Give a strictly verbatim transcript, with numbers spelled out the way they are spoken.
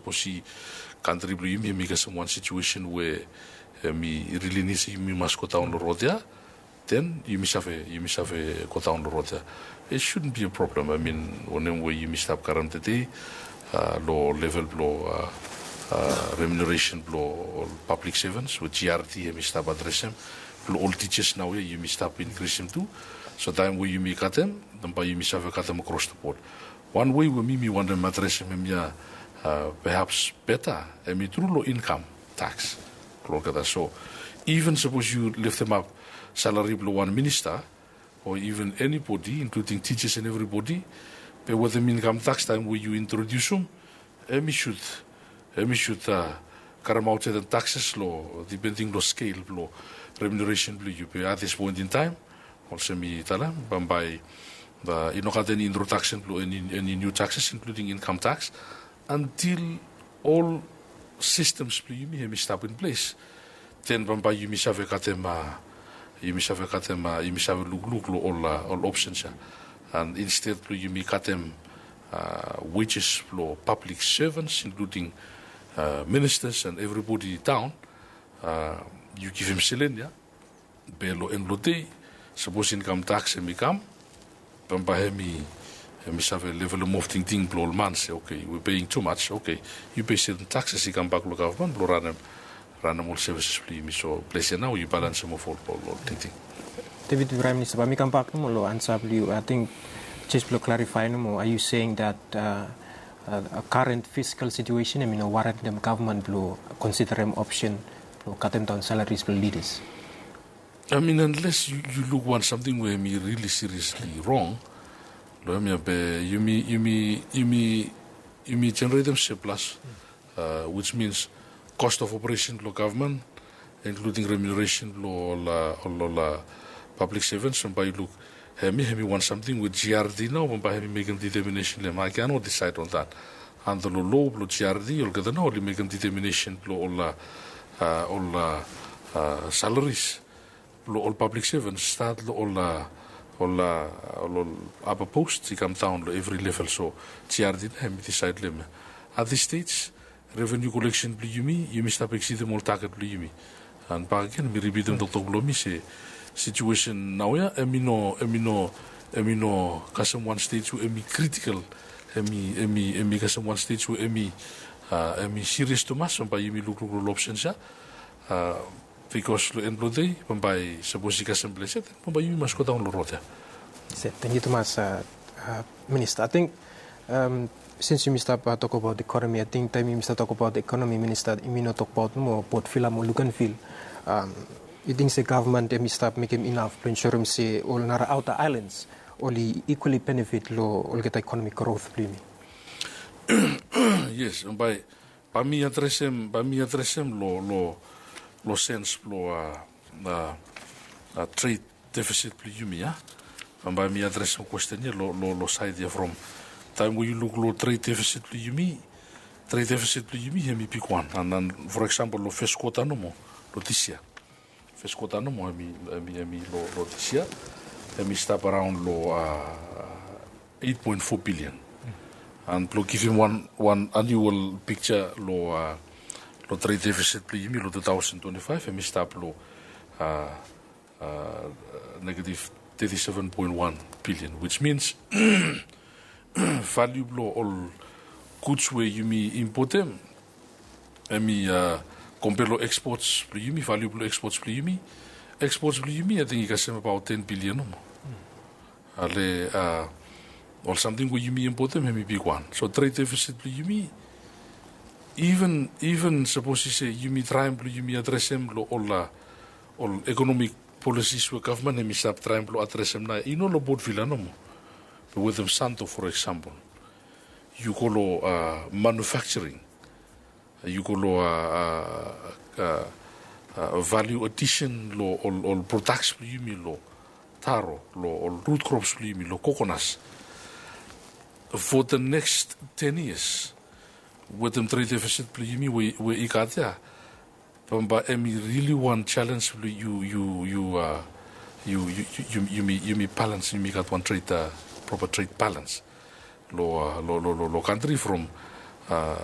Sapos i kantri blong yumi hemi kasem wan situesen we hemi rili nid se yumi mas godaon long rod ya, den yumi save yumi save godaon long rod ya. It shouldn't be a problem. I mean, wanem we yumi stap karem tede long level blong remuneration blong ol pablik sevens we G R D hemi stap adresem, blong ol tijas naoia yumi stap inkrisim tu. So taem we yumi katem, den bae yumi save katem across the board. Wan wei we mi mi wantem adresem hemia, perhaps beta, hemi tru long income tax blong olgeta. So even sapos yu leftemap salari blong wan minista o even anybody, including teachers and everybody, be wetem income tax taem we yu introdiusum, hemi sud hemi sud karemaot saetem taxes long depending long skel blong remuneration blong yu. Be at this point in time, olsem mi talem, bambae i no gat eni introduction blong eni niu taxes, including income tax, until ol systems blong yumi hemi stap in ples. Den bambae yumi save katem, yumi save katem, yumi save lukluk long ol options ya. And instead blong yumi katem wages blong pablik sevens, including ministers and everybody daon, yu givim selen ya. Be long en blong dei, sapos income tax hemi kam, bambae hemi hemi save levelem of tingting blong ol man se, okay, we paying too much, okay, yu pei seten taxes i kambak long gavman blong ranem ranem ol services blong yumi. So ples ya nao yu balensem of ol ol tingting. David, Praem Minista, bae mi kambak nomo long ansa blong yu. Ating jes blong klarifaem nomo, are you saying that current fiscal situation hemi no warentem gavman blong konsiderem opsen blong katemdaon salaries blong leaders? I mean, unless yu luk wan samting we hemi rili seriously rong long hemia, be yumi yumi yumi yumi jeneretem surplus, which means cost of operation blong gavman, including remuneration blong ol ol pablik sevens, bambae yu luk hemia hemi wan samting we G R D nao bambae hemi mekem determination long hem. I cannot decide on that. Anda long lo blong G R D olgeta nao oli mekem determination blong ol ol salaries blong ol pablik sevens, stat long ol ol ol apa post i kamdaon long evri level. So G R D nao hemi disaed long hem. At this stage, revenue collection blong yumi, yumi stap exceedem ol target blong yumi. And bakegen mi ripitem toktok blong mi se situesen naoia hemi no hemi no hemi no kasem wan stage we hemi critical. Hemi hemi hemi kasem wan stage we hemi hemi serious tumas, bambae yumi lukluk long ol options ya. Bikos long en blong dei, bambae sapos i kasem ples ya, den bambae yumi mas godaon long rod ya. Tangkiu tumas, Minista. Ating sins yumi stap tokbaot ekonomi, ating taem yumi stap tokbaot ekonomi, Minista, yumi no tokbaot nomo Port Vila mo Luganville. Yu ting se gavman hemi stap mekem inaf blong ensurem se ol nara aota aelans oli equally benefit long olgeta ekonomik growth blong yumi? Yes, bambae Bae mi adresem bae mi adresem long long long sens blong a a a tred defisit blong yumi ya. Bae mi adresem kwesten ya long long long saed ya from taem we yu luk long tred defisit blong yumi, tred defisit blong yumi hemi bigwan. An an, for example, long fes kwota nomo long dis yia. Fes kwota nomo hemi hemi hemi long long dis yia hemi stap araon long a eit poen fo bilian. An blong givim wan wan anual pikja long a long tred defisit blong yumi long tu taosen twenti faef, hemi stap long a a negatif teti seven poen wan bilian, wis mins valiu blong ol guds we yumi impotem hemi a kompea long ekspots blong yumi, valiu blong ekspots blong yumi. Ekspots blong yumi ating i kasem abaot ten bilian nomo. Ale a ol samting we yumi impotem hemi bigwan. So tred defisit blong yumi, iven iven sapos i se yumi traem blong yumi adresem long ol a ol ekonomik polisis we gavman hemi stap traem blong adresem nao i no long Port Vila nomo. Be wetem Santo, for example, yu go long a manufaksaring, yu go long a a a valiu adisen long ol ol prodaks blong yumi, long taro, long ol rut krops blong yumi, long kokonas. For the next ten yias wetem tred defisit blong yumi we we i gat ya, bambae hemi rili wan jalenj blong yu yu yu a yu yu yu yumi yumi balans, yumi gat wan tred a propa tred balans long a long long long kantri from a